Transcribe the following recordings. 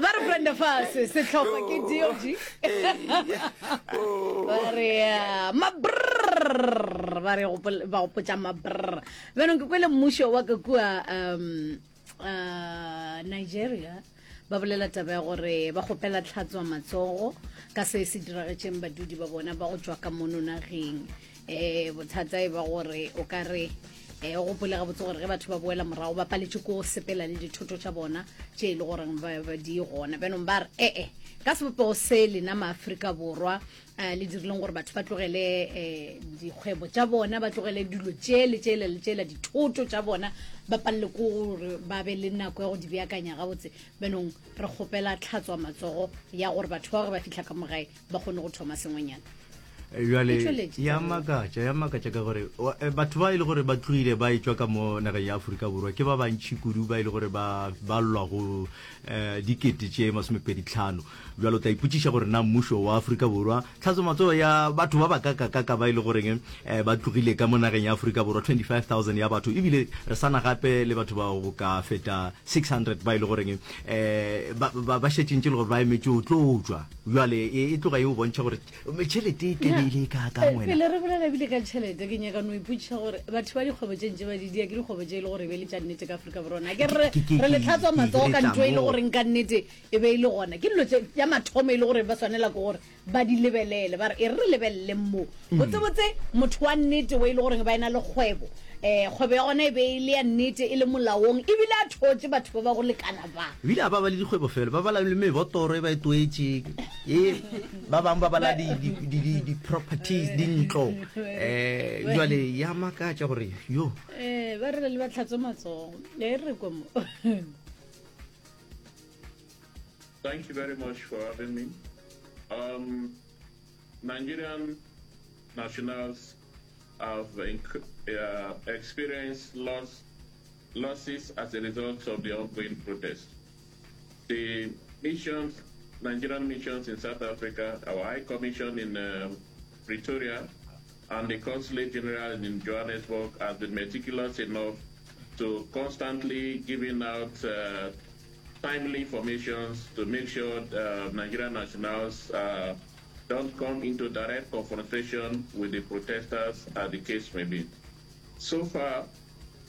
Ba re Brenda Fase, sehlopha ke DOG. Ba re mabrrr, ba re ba gopotša mabrrr. Bjanong ke kwele mmušo wa ka kua um uh, Nigeria ba bolela taba ya gore ba kgopela tlhatswa matsogo ka se se diragetšeng badudi ba bona ba go tšwa ka mono nageng. Um bothata e ba gore o ka re um o gopole gabotse gore ge batho ba boela morago ba paletše ko sepela le dithoto tša bona tše e le goreng ba di gona. Bjanong ba re ee ka sebopego se lena maafrika Borwa um le dirileng gore batho ba tlogele um dikgwebo tša bona, ba tlogele dilo tšele tšele le tšela dithoto tša bona, ba palele ko gore ba be le nako ya go di beakanya gabotse. Bjanong re kgopela tlhatswa matsogo ya gore batho ba gore ba fihla ka mogae ba kgone go thoma sengwenyana. Bjale ya makatša, ya makatša ka gore batho ba e le gore ba tlogile ba etšwa ka mo nageng ya Afrika Borwa ke ba bantši kudu ba e le gore ba ba lwa go dikete tše 25. Bjale o tla ipotšiša gore na mmušo wa Afrika Borwa tlhatso matsogo ya batho ba ba kakakaka ba e le goreng ba tlogile ka mo nageng ya Afrika Borwa 25000 ya batho, ebile re sana gape le batho ba go ka feta 600 ba e le goreng ba ba šetše ntše le gore ba emetše o tlo tšwa. Bjale e tloga e o bontšha gore tšhelete e tla be e le e kaakang wena. Pele re bolela ebile ka tšhelete, ke nyaka no ipotšiša gore batho ba dikgwebo tše ntše ba di dia ke dikgwebo tše e le gore e be e le tša nnete ka Afrika Borwa na? Ke re re le tlhatswa matsogo ka ntho e le goreng ka nnete e be e le gona. Ke dilo tše ya mathomo e le gore ba swanela ke gore ba di lebelele, ba re e re re lebeleleng mo. Botsebotse motho wa nnete o e le goreng ba ena le kgwebo, um kgwebo ya gona e be e le ya nnete, e le molaong, ebile a thotše batho ba ba go lekana ba. Ebile ga ba bale dikgwebo fela, ba bala le mebotoro e ba e toetšeng, e ba bangwe ba bala di-properties, dintlo. Um jwale ya makatša gore yo. Eh, ba re le ba tlhatswe matsogo. E re kwe mo. Thank you very much for having me. Um, Nigerian nationals have uh, experienced loss, losses as a result of the ongoing protest. The missions, Nigerian missions in South Africa, our High Commission in um, Pretoria, and the Consulate General in Johannesburg has been meticulous enough to constantly giving out uh, timely informations to make sure uh, Nigerian nationals uh, don't come into direct confrontation with the protesters, as the case may be. So far,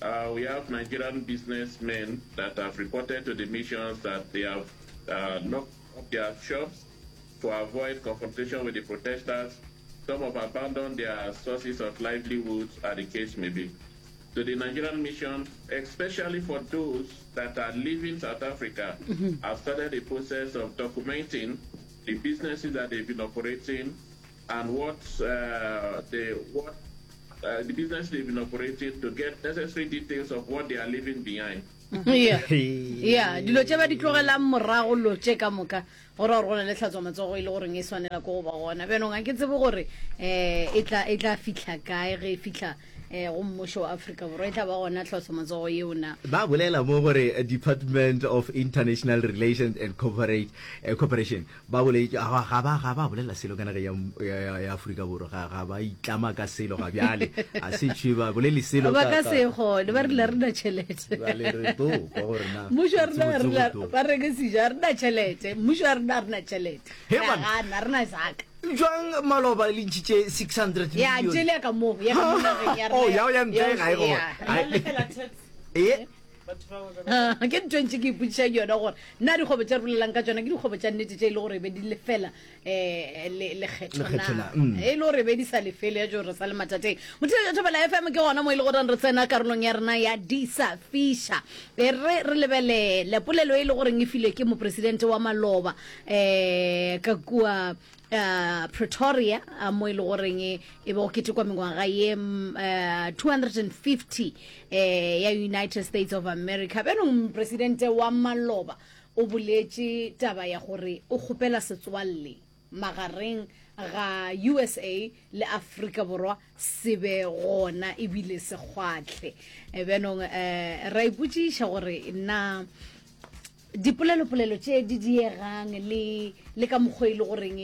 uh, we have Nigerian businessmen that have reported to the missions that they have uh, locked up their shops to avoid confrontation with the protesters. Some have abandoned their sources of livelihoods, as the case may be. To the Nigerian mission, especially for those that are leaving South Africa, have started the process of documenting the businesses that they've been operating and what uh, they what uh, the business they've been operating to get necessary details of what they are leaving behind. Yeah. Yeah, dilo tše ba di tlogelang morago lo tše ka moka go ra gore go na le tlhatswa matsogo e le goreng e swanela ko go ba gona. Bjanong a ke tsebe gore um e tla e tla fihla kae ge e fihla um go mmušo wa Afrika Borwa e tla ba gona tlhatswa matsogo yeo na. Ba bolela mo gore Department of International Relations and Corporate, eh, Cooperation ba boletše ga ga ba ga ba bolela selo ka nageng ya, ya, ya, ya Afrika Borwa ga ga ba itlama ka selo ga bjale a se tšwe ba bolele selo ba ka se kgone ba rile re na tšhelete Bjale re tlo kwa gore na mmušo wa rena botsebotse re go tlo. ba reke sejo a re na tšhelete mmušo wa rena a re na tšhelete He Re a man. gana re na saka Jwang maloba le ntšhitše 600 ya million tšele ya ka mo ya ka mo nageng ya Oh, rena ya ya ntle ga e gona. ya. Ai. Ba lefela tax Eh, batho ba ba Ah, ke ntho e ntše ke ipotšišang yona gore na dikgwebo tše re bolelang ka tšona ke dikgwebo tša nnete tše e le gore be di lefela um lekgetho Lekgetho na na, mm. e le gore be di sa lefele ya jo re sa le mathateng. Motheetši wa Thobela FM ke gona mo e le goreng re tsena karolong ya rena ya di sa fiša. E re re lebelele polelo e le goreng e filwe ke mopresidente wa maloba um ka kua uh, Pretoria uh, mo e le goreng e be go ketekwa mengwaga ye uh, 250 eh, ya United States of America. Bjanong mopresidente wa maloba o boletše taba ya gore o kgopela setswalle magareng ga USA le Afrika Borwa se be gona ebile se kgwahle. Eh, bjanong eh, ra ipotšiša gore na Dipolelopolelo tše di diegang le le ka mokgwa e le goreng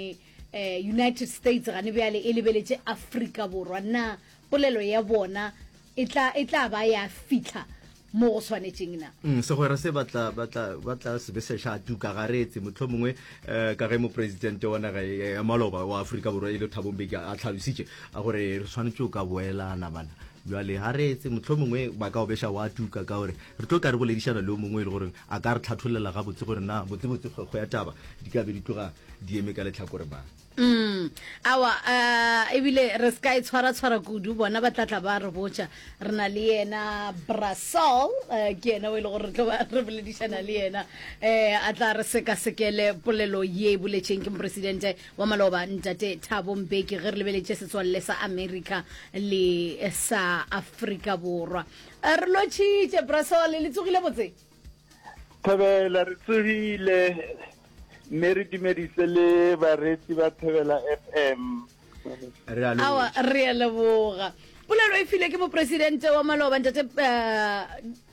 eh, United States gane bjale e lebeletše Afrika Borwa, na polelo ya bona e tla, e tla ba ya fihla mo go swanetšeng na? Mm, segwera se ba tla, ba tla, ba tla se be se ša tuka ga re etse mohlomongwe eh, ka ge mopresidente wa naga ya maloba wa Afrika Borwa e le Thabo Mbeki a tlhalositše a gore re swanetše go ka boelana bana. Bjale ga re etse mohlomongwe ba ka o beša wa tuka ka gore re tlo ka re boledišana le yo mongwe e le gore a ka re tlhathollela gabotse gore na botsebotse kgwekgwe ya taba di ka be di tloga di eme ka lehlakore mang. Mm, awa, uh, ebile re se ka e tshwara-tshwara kudu, bona ba tla tla ba re botša. Re na le yena Brasol, uh, ke yena o e le gore re tlo ba re boledišana le yena, uh, a tla re sekasekele polelo ye e boletšeng ke mopresidente wa maloba Ntate Thabo Mbeki ge re lebeletše setswalle sa Amerika le sa Afrika Borwa. Uh, re lotšhitše Brasol, le tsogile botse? Thobela, re tsogile mme re dumedise le bareetsi ba Thobela FM. Re a Awa, lotšha. re a leboga. Polelo e file ke mopresidente wa maloba ntate eh,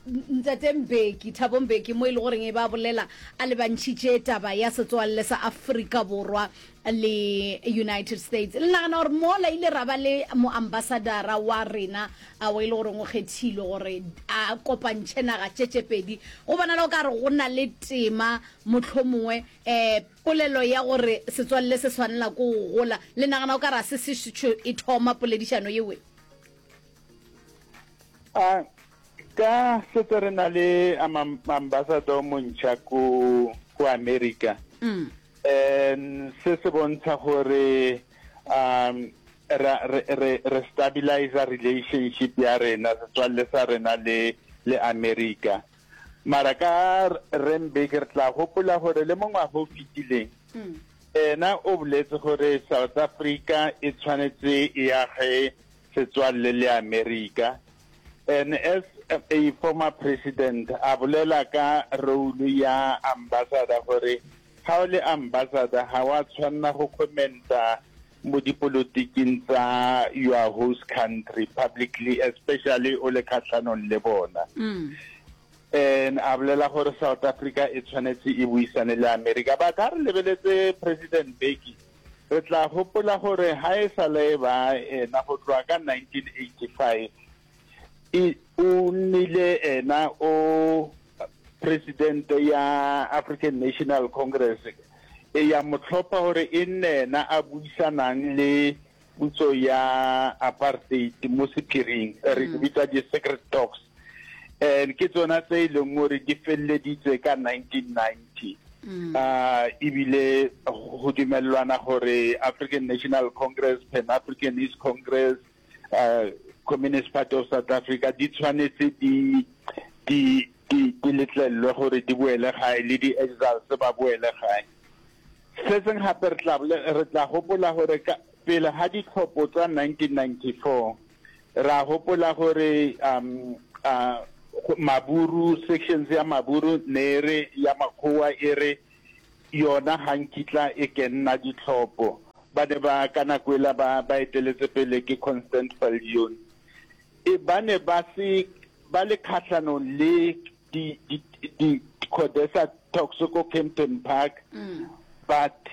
ntate Mbeki, Thabo Mbeki, mo e le goreng e ba bolela a lebantšhitše taba ya setswalle sa Afrika Borwa le United States. Le nagana gore mola ile ra ba le moambasadara wa rena a o e le goreng o kgethilwe gore a kopantšhe naga tše tše pedi, go bonala o ka re go na le tema mohlomongwe um polelo ya gore setswalle se swanela ko go gola. Le nagana o ka re a se se e thoma poledišano yewe? A ka setse re na le ambassador montšha ko ko America. Mm. Um se se bontsha gore um ra re re re stabilizer relationship ya rena setswalle sa rena le le America. Mara ka Rre Mbeki re tla gopola gore le mo ngwaga o fetileng ena o boletse gore South Africa e tshwanetse e age setswalle le America and as a former president a bolela ka role ya ambassador gore ga o le ambassador ga wa tshwanna go commenta mo dipolotiking tsa your host country publicly especially o le kgatlhanong le bona. And a bolela gore South Africa e tshwanetse e buisane le America. But ha re lebeletse President Mbeki Re tla gopola gore ga e sa le e ba ena go tloga ka 1985, e, o nnile ena o presidente ya African National Congress e ya mo tlhopha gore e nne ena a buisanang le puso ya apartheid mo sephiring, re di bitsa di-secret talks. And ke tsona tse e leng gore di feleleditse ka 1990. Uh, ebile go dumelelwana gore African National Congress, Pan Africanist Congress, uh, Communist Party of South Africa di tshwanetse di di di di letlelelwe gore di boele gae le di-exiles ba boele gae. Se seng gape re tla re tla gopola gore pele ga ditlhopho tsa 1994 Ra gopola gore um uh, Maburu, sections ya Maburu ne e re ya makgowa e re yona ga nkitla e kenna ditlhopho. Ba ne ba ka nako ela ba ba eteletse pele ke Constant Viljoen. E ba ne ba se ba le kgatlhanong le di di di CODESA talks ko Kempton Park but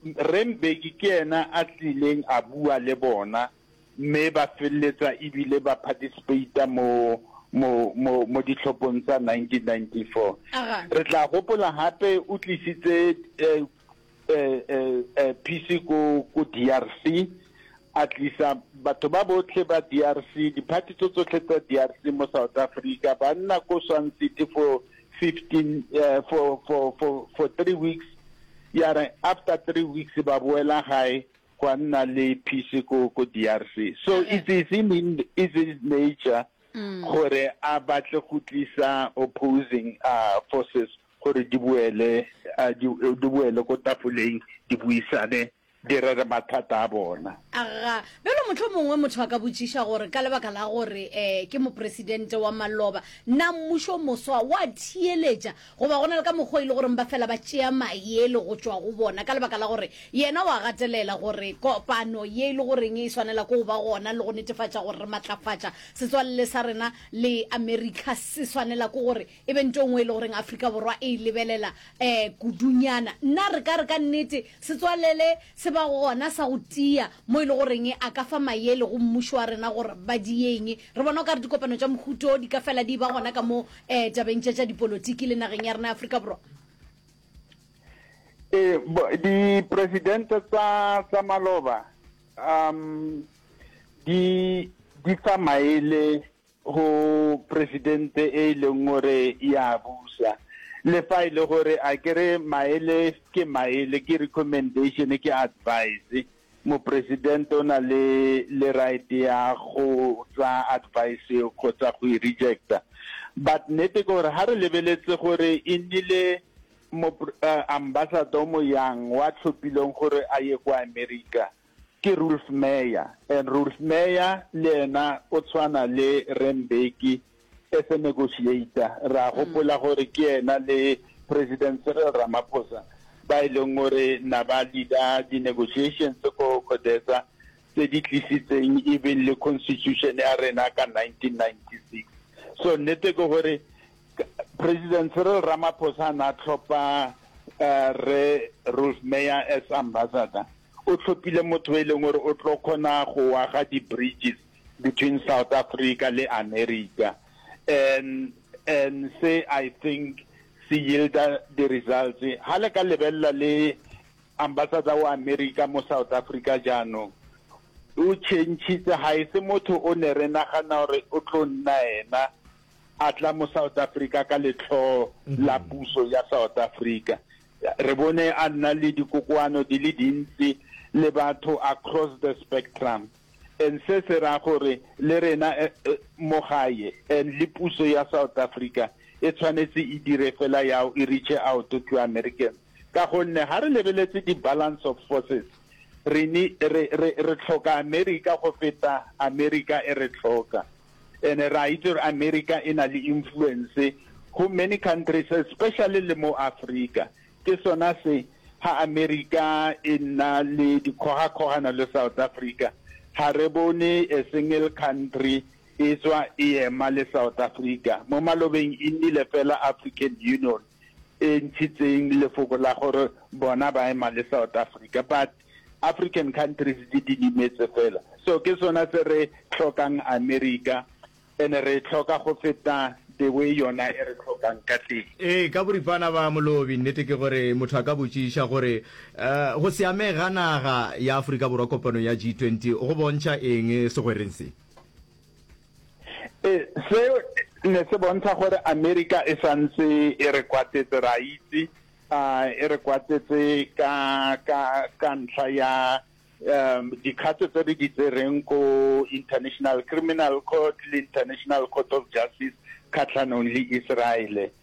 Rre Mbeki ke ena a tlileng a bua le bona mme ba feleletsa ebile ba participata mo mo mo mo ditlhophong tsa 1994. Aga. Re tla gopola gape o tlisitse eh, eh, eh, eh, peace ko ko DRC a tlisa batho ba botlhe ba DRC diphathi tso tsotlhe tsa DRC mo South Africa ba nna ko Swan City for 15 eh, for for for for 3 weeks ya re after 3 weeks ba boela gae gwa nna le peace ko ko DRC so it is in it's his nature gore a batle go tlisa opposing uh, forces gore di boele uh, di, di boele ko tafoleng di buisane di rere mathata a bona. Aga, bjalo mohlomongwe motho a ka botšiša gore ka lebaka la gore um ke mopresidente wa maloba, na mmušo moswa wa theeletša Goba go na le ka mokgwa o e le goreng ba fela ba tšea maele go tšwa go bona, ka lebaka la gore yena o a gatelela gore kopano ye e le goreng e swanela ke go ba gona le go netefatša gore re matlafatša setswalle sa rena le Amerika se swanela ke gore e be nto nngwe e le goreng Afrika Borwa e e lebelela um kudunyana. Na re ka re ka nnete setswalele se ba. ba gona sa go tia mo e le goreng a ka fa maele go mmušo wa rena gore ba dieng. Re bona o ka re dikopano tša mohuto di ka fela di ba gona ka mo um tabeng tša tša dipolotiki le nageng ya rena ya Afrika Borwa. Ee, dipresidente tsa tsa maloba um di di fa maele go presidente e e leng gore ya busa le fa e le gore a kere maele ke maele ke recommendation ke advice mopresidente o na le le right ya go tsa advice eo kgotsa go e rejecta but nnete ke gore ha re lebeletse gore e nnile ambassador mo yang wa tlhophileng gore a ye kwa America ke Roelf Meyer and Roelf Meyer le ena o tshwana le Rre Mbeki as a negotiator. Re a gopola gore ke ena le President Cyril Ramaphosa ba e leng gore na ba leader di-negotiations ko CODESA tse di tlisitseng even le constitution ya rena ka 1996. So nnete ke gore President Cyril Ramaphosa na tlhopha Rre Roelf Meyer as ambassador, o tlhophile motho e leng gore o tlo kgona go aga di-bridges between South Africa le America and and se I think se yielda the results. Ha le ka lebelela le ambassador wa America mo South Africa jaanong o changitse ga e se motho o ne re nagana gore o tlo nna ena a tla mo South Africa ka letlhoo la puso ya South Africa. Re bone a nna le dikokoano di le dintsi le batho across the spectrum. And se se raya gore le rena mo gae and le puso ya South Africa e tshwanetse e dire fela yao e reach out to Americans ka gonne ha re lebeletse di balance of forces re re re re tlhoka America go feta America e re tlhoka and re a itse gore America e na le influence go many countries especially le mo Africa. Ke sona se ha America e nna le dikgogakgogano le South Africa, ga re bone a single country e tswa e ema le South Africa. Mo malobeng e nnile fela African Union e ntshitseng lefoko la gore bona ba ema le South Africa, but African countries di didimetse fela. So ke sona se re tlhokang America And re e hloka go feta the way yona e re hlokang ka teng. Ee, ka boripana ba Molobi, nnete ke gore motho a ka botšiša gore go se amege ga naga ya Afrika Borwa kopanong ya G20 go bontšha eng segwereng se? Ee, seo ne se bontsha gore Amerika e sa ntse e re kwatetse, re a itse, e re kwatetse ka, ka, ka ntlha ya um dikgato tse re di tsereng ko International Criminal Court le International Court of Justice kgatlhanong le Israele.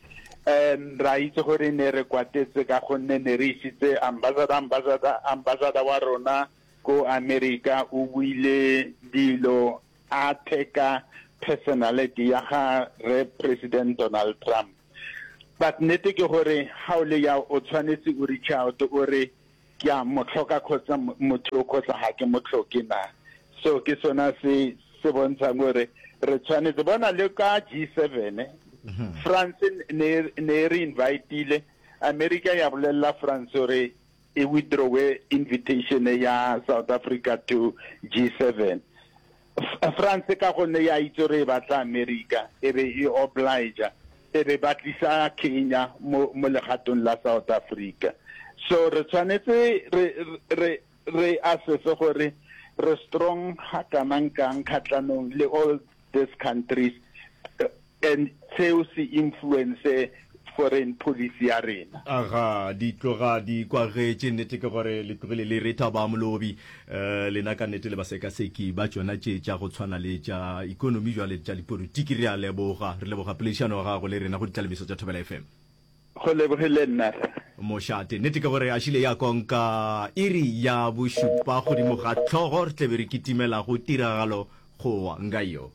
Um ra itse gore ne re kwatetse ka gonne ne re isitse ambassador, ambassador, ambassador wa rona ko America o buile dilo a theka personality ya ga re President Donald Trump. But nnete ke gore ga o le ya o tshwanetse o reach out o re Ke a mo tlhoka kgotsa motho o kgotsa ga ke mo tlhoke na? So ke sona se se bontshang gore re tshwanetse bona le ka G7 France ne ne re invitile America ya bolelela France gore e withdrawe invitation ya South Africa to G7. France ka gonne ya itse gore e batla America e be e oblige e be ba tlisa Kenya mo mo legatong la South Africa. So re tshwanetse re re re assess gore re strong ga kanang kang kgatlhanong le all these countries And seo se influence foreign policy ya rena. Aga, di tloga di kwagetše. Nnete ke gore le tlogile le re thaba molobi. Eh, lena ka nnete le basekaseki ba tšona tše tša go tshwana le tša ekonomi jwale tša dipolotiki. Re a leboga. Re leboga poledišano ya gago le rena go ditlalemiso tša Thobela FM. Go lebogile nna, rra. Mošate. Nnete ke gore a šile ya konka iri ya bošupa godimo ga hlogo re tlebe re kitimela go tiragalo gowa nga yo.